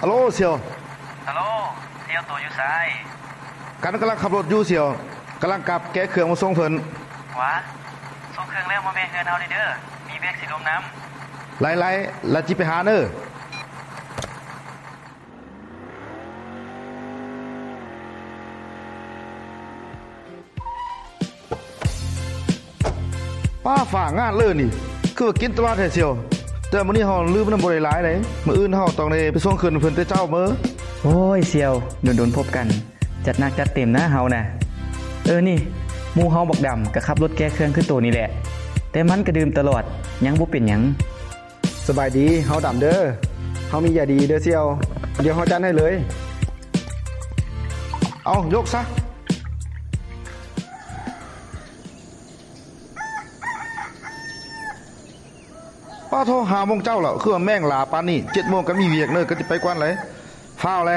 ຮັລໂຫຼ ສ່ຽວ. ຮັລໂຫຼ ສ່ຽວ ໂຕຢູ່ໃສ? ກັນກຳລັງຂັບລົດຢູ່ສ່ຽວ, ກຳລັງກັບແກະເຄື່ອງມາສົ່ງເພິ່ນ. ຫວາ ສົ່ງເຄື່ອງແລ້ວມາແວ່ເຮືອນເຮົາເດີ້, ມີແບກສີລົມນຳ. ໄລ່ໆ ລະຈິໄປຫາເນີ. ປ້າ ຟ້າງາດເລີນີ້ ຄືວ່າກິນຕະຫຼອດແທ້ສ່ຽວ. ແຕ່ມື້ນີ້ເຮົາລືມນຳບໍ່ໄດ້ຫຼາຍໃດ, ມື້ອື່ນເຮົາຕ້ອງໄດ້ໄປສົ່ງເຄື່ອງເພິ່ນແຕ່ເຊົ້າເມີ. ໂອ້ຍ ສ່ຽວ ດົນໆພົບກັນ, ຈັດໜັກຈັດເຕັມນະເຮົານະ. ເອີ ນີ້ ໝູ່ເຮົາບັກດຳກໍຂັບລົດແກ່ເຄື່ອງຄືໂຕນີ້ແຫຼະ, ແຕ່ມັນກໍດື່ມຕະຫຼອດ ຍັງບໍ່ເປັນຫຍັງ. ສະບາຍດີ, ເຮົາດຳເດີ້. ເຮົາມີຢາດີເດີ້ສ່ຽວ, ດຽວເຮົາຈັດໃຫ້ເລີຍ. ເອົາ ຍົກຊະ. ປ້າໂທ ຫ້າໂມງເຊົ້າແລ້ວ, ຄືວ່າແມ່ງຫຼາປານນີ້. ເຈັດໂມງກໍມີວຽກເນີ, ກໍຊິໄປກ່ອນເລີຍ. ຟ້າວແລ.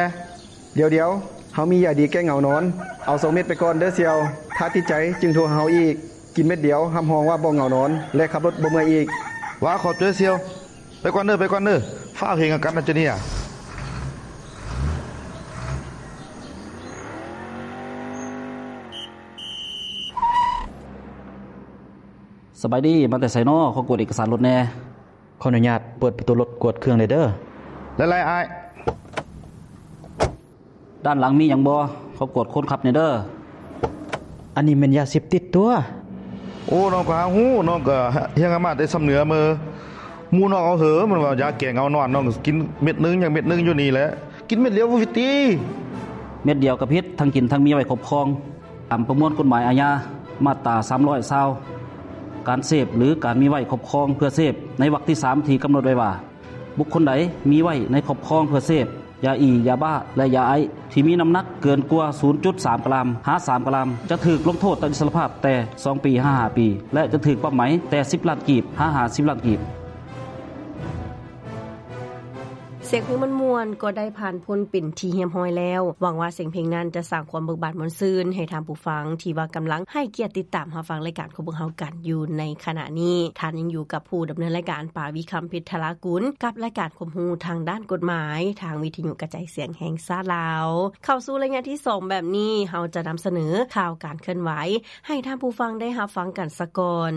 ດຽວໆ, ເຮົາມີຢາດີແກ້ເຫງົານອນ. ເອົາສອງເມັດໄປກ່ອນເດີ້ສ່ຽວ, ຖ້າຕິດໃຈຈຶ່ງໂທຫາເຮົາອີກ. ກິນເມັດດຽວ ຮັບຮອງວ່າບໍ່ເຫງົານອນ ແລະ ຂັບລົດບໍ່ເມື່ອຍອີກ. ຫວາ ຂອບໃຈສ່ຽວ. ໄປກ່ອນເດີ້, ໄປກ່ອນເດີ້. ຟ້າວເຮັດຫຍັງກັນນະເຈົ້ານີ້. ສະບາຍດີ, ມາແຕ່ໃສນໍ? ຂໍກວດເອກະສານລົດແດ່. ຂໍອະນຸຍາດເປີດປະຕູລົດກວດເຄື່ອງແດ່ເດີ້. ຫຼາຍໆ ອ້າຍ. ດ້ານຫຼັງມີຫຍັງບໍ່? ຂໍກວດຄົນຂັບແດ່ເດີ້. ອັນນີ້ແມ່ນຢາເສບຕິດຕົວະ. ໂອ້ ນ້ອງກໍຫາຮູ້, ນ້ອງກໍຮຽນມາແຕ່ຊຳເໜືອເມີ. ໝູ່ນ້ອງເອົາເຫີ ມັນວ່າຢາແກ້ເຫງົານອນ, ນ້ອງກໍກິນເມັດໜຶ່ງ ຍັງເມັດໜຶ່ງຢູ່ນີ້ແຫຼະ. ກິນເມັດດຽວບໍ່ຜິດຕິ? ເມັດດຽວກໍຜິດ, ທັງກິນທັງມີໄວ້ຄອບຄອງ. ຕາມປະມວນກົດໝາຍອາຍາ ມາດຕາສາມຮ້ອຍຊາວ ການເສບ ຫຼື ການມີໄວ້ຄອບຄອງເພື່ອເສບ ໃນວັກທີສາມ ທີ່ກຳນົດໄວ້ວ່າ ບຸກຄົນໃດມີໄວ້ໃນຄອບຄອງເພື່ອເສບ ຢາອີ, ຢາບ້າ ແລະ ຢາໄອສ໌ ທີ່ມີນ້ຳໜັກເກີນກວ່າ ສູນຈຸດສາມກຣາມ ຫາ ສາມກຣາມ ຈະຖືກລົງໂທດຕັດອິດສະຫຼະພາບແຕ່ສອງປີ ຫາ ຫ້າປີ ແລະ ຈະຖືກປັບໃໝແຕ່ສິບລ້ານກີບ ຫາ ຫ້າສິບລ້ານກີບ. ສຽງເພງມ່ວນໆກໍໄດ້ຜ່ານພົ້ນເປັນທີ່ຮຽບຮ້ອຍແລ້ວ. ຫວັງວ່າສຽງເພງນັ້ນຈະສ້າງຄວາມເບີກບານມ່ວນຊື່ນໃຫ້ທ່ານຜູ້ຟັງທີ່ວ່າກຳລັງໃຫ້ກຽດຕິດຕາມຮັບຟັງລາຍການຂອງພວກເຮົາກັນຢູ່ໃນຂະນະນີ້. ທ່ານຍັງຢູ່ກັບຜູ້ດຳເນີນລາຍການ ປາ ວິຄຳ ເພັດທະລາກຸນ ກັບລາຍການຄວາມຮູ້ທາງດ້ານກົດໝາຍ ທາງວິທະຍຸກະຈາຍສຽງແຫ່ງຊາດລາວ. ເຂົ້າສູ່ໄລຍະທີສອງແບບນີ້, ເຮົາຈະນຳສະເໜີຂ່າວການເຄື່ອນໄຫວໃຫ້ທ່ານຜູ້ຟັງໄດ້ຮັບຟັງກັນສາກ່ອນ.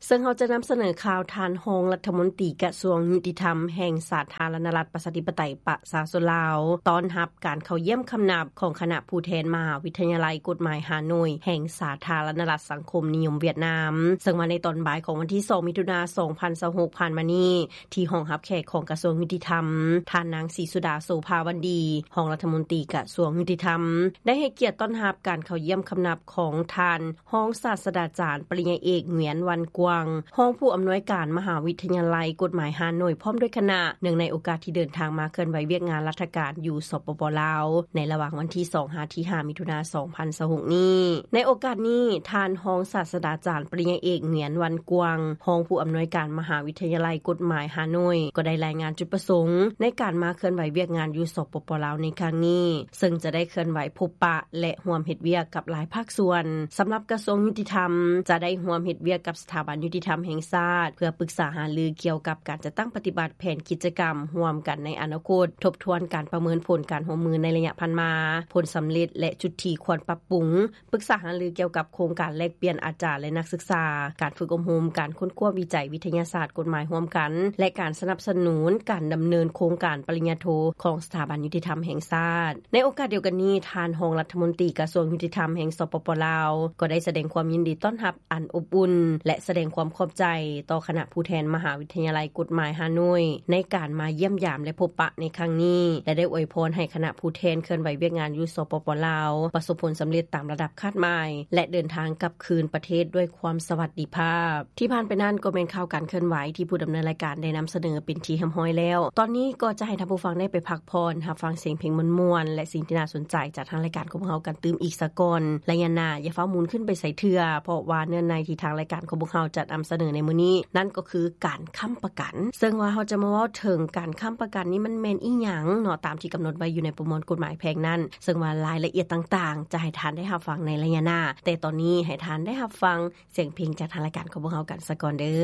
ເຊິ່ງເຮົາຈະນຳສະເໜີຂ່າວທ່ານຮອງລັດຖະມົນຕີກະຊວງຍຸຕິທຳແຫ່ງສາທາລະນະລັດປະຊາທິປະໄຕປະຊາຊົນລາວ ຕ້ອນຮັບການເຂົ້າຢ້ຽມຄຳນັບຂອງຄະນະຜູ້ແທນມະຫາວິທະຍາໄລກົດໝາຍຮ່າໂນ້ຍແຫ່ງສາທາລະນະລັດສັງຄົມນິຍົມຫວຽດນາມ, ເຊິ່ງວ່າໃນຕອນບ່າຍຂອງວັນທີສອງ ມິຖຸນາ ສອງພັນຊາວຫົກ ຜ່ານມານີ້ ທີ່ຫ້ອງຮັບແຂກຂອງກະຊວງຍຸຕິທຳ, ທ່ານນາງ ສີສຸດາ ໂສພາວັນດີ ຮອງລັດຖະມົນຕີກະຊວງຍຸຕິທຳ ໄດ້ໃຫ້ກຽດຕ້ອນຮັບການເຂົ້າຢ້ຽມຄຳນັບຂອງທ່ານ ຮອງສາດສະດາຈານ ປະລິນຍາເອກ ຫງວຽນ ວັນກວາງ ຮອງຜູ້ອຳນວຍການມະຫາວິທະຍາໄລກົດໝາຍຮ່າໂນ້ຍ ພ້ອມດ້ວຍຄະນະ, ເນື່ອງໃນໂອກາດທີ່ເດີນທາງມາເຄື່ອນໄຫວວຽກງານລັດຖະການຢູ່ ສປປ ລາວ ໃນລະຫວ່າງວັນທີສອງ ຫາ ທີຫ້າ ມິຖຸນາ ສອງພັນຊາວຫົກນີ້. ໃນໂອກາດນີ້, ທ່ານຮອງສາດສະດາຈານ ປະລິນຍາເອກ ຫງວຽນ ວັນກວາງ ຮອງຜູ້ອຳນວຍການມະຫາວິທະຍາໄລກົດໝາຍຮ່າໂນ້ຍ ກໍໄດ້ລາຍງານຈຸດປະສົງໃນການມາເຄື່ອນໄຫວວຽກງານຢູ່ ສປປ ລາວ ໃນຄັ້ງນີ້, ເຊິ່ງຈະໄດ້ເຄື່ອນໄຫວພົບປະ ແລະ ຮ່ວມເຮັດວຽກກັບຫຼາຍພາກສ່ວນ. ສຳລັບກະຊວງຍຸຕິທຳ ຈະໄດ້ຮ່ວມເຮັດວຽກກັບສະຖາບັນຍຸຕິທຳແຫ່ງຊາດ ເພື່ອປຶກສາຫາລືກ່ຽວກັບການຈັດຕັ້ງປະຕິບັດແຜນກິດຈະກຳຮ່ວມກັນໃນອະນາຄົດ, ທົບທວນການປະເມີນຜົນການຮ່ວມມືໃນໄລຍະຜ່ານມາ, ຜົນສຳເລັດ ແລະ ຈຸດທີ່ຄວນປັບປຸງ, ປຶກສາຫາລືກ່ຽວກັບໂຄງການແລກປ່ຽນອາຈານ ແລະ ນັກສຶກສາ, ການຝຶກອົບຮົມ, ການຄົ້ນຄວ້າວິໄຈວິທະຍາສາດກົດໝາຍຮ່ວມກັນ ແລະ ການສະໜັບສະໜູນການດຳເນີນໂຄງການປະລິນຍາໂທຂອງສະຖາບັນຍຸຕິທຳແຫ່ງຊາດ. ໃນໂອກາດດຽວກັນນີ້, ທ່ານຮອງລັດຖະມົນຕີກະຊວງຍຸຕິທຳແຫ່ງ ສປປ ລາວ ກໍໄດ້ສະແດງຄວາມຍິນດີຕ້ອນຮັບອັນອົບອຸ່ນ ແລະ ສະແດງຄວາມຂອບໃຈຕໍ່ຄະນະຜູ້ແທນມະຫາວິທະຍາໄລກົດໝາຍຮ່າໂນ້ຍ ໃນການມາຢ້ຽມຢາມ ແລະ ພົບປະໃນຄັ້ງນີ້ ແລະ ໄດ້ອວຍພອນໃຫ້ຄະນະຜູ້ແທນເຄື່ອນໄຫວວຽກງານຢູ່ ສປປ ລາວ ປະສົບຜົນສຳເລັດຕາມລະດັບຄາດໝາຍ ແລະ ເດີນທາງກັບຄືນປະເທດດ້ວຍຄວາມສະຫວັດດີພາບ. ທີ່ຜ່ານໄປນັ້ນກໍແມ່ນຂ່າວການເຄື່ອນໄຫວທີ່ຜູ້ດຳເນີນລາຍການໄດ້ນຳສະເໜີເປັນທີ່ຮຽບຮ້ອຍແລ້ວ. ຕອນນີ້ກໍຈະໃຫ້ທ່ານຜູ້ຟັງໄດ້ໄປພັກຜ່ອນ, ຮັບຟັງສຽງເພງມ່ວນໆ ແລະ ສິ່ງທີ່ໜ້າສົນໃຈຈາກທາງລາຍການຂອງພວກເຮົາກັນຕື່ມອີກສາກ່ອນ. ໄລຍະໜ້າຢ່າຟ້າວໝູນຂຶ້ນໄປໃສເທື່ອ, ເພາະວ່າເນື້ອໃນທີ່ທາງລາຍການຂອງພວກເຮົາຈັດນຳສະເໜີໃນມື້ນີ້ ນັ້ນກໍຄືການຄ້ຳປະກັນ. ເຊິ່ງວ່າເຮົາຈະມາເວົ້າເຖິງການຄ້ຳປະກັນນີ້ມັນແມ່ນອີ່ຫຍັງເນາະ, ຕາມທີ່ກຳນົດໄວ້ຢູ່ໃນປະມວນກົດໝາຍແພ່ງນັ້ນ. ເຊິ່ງວ່າລາຍລະອຽດຕ່າງໆ ຈະໃຫ້ທ່ານໄດ້ຮັບຟັງໃນໄລຍະໜ້າ, ແຕ່ຕອນນີ້ໃຫ້ທ່ານໄດ້ຮັບຟັງ ສຽງເພງຈາກທາງລາຍການຂອງພວກເຮົາກັນສາກ່ອນເດີ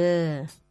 ້.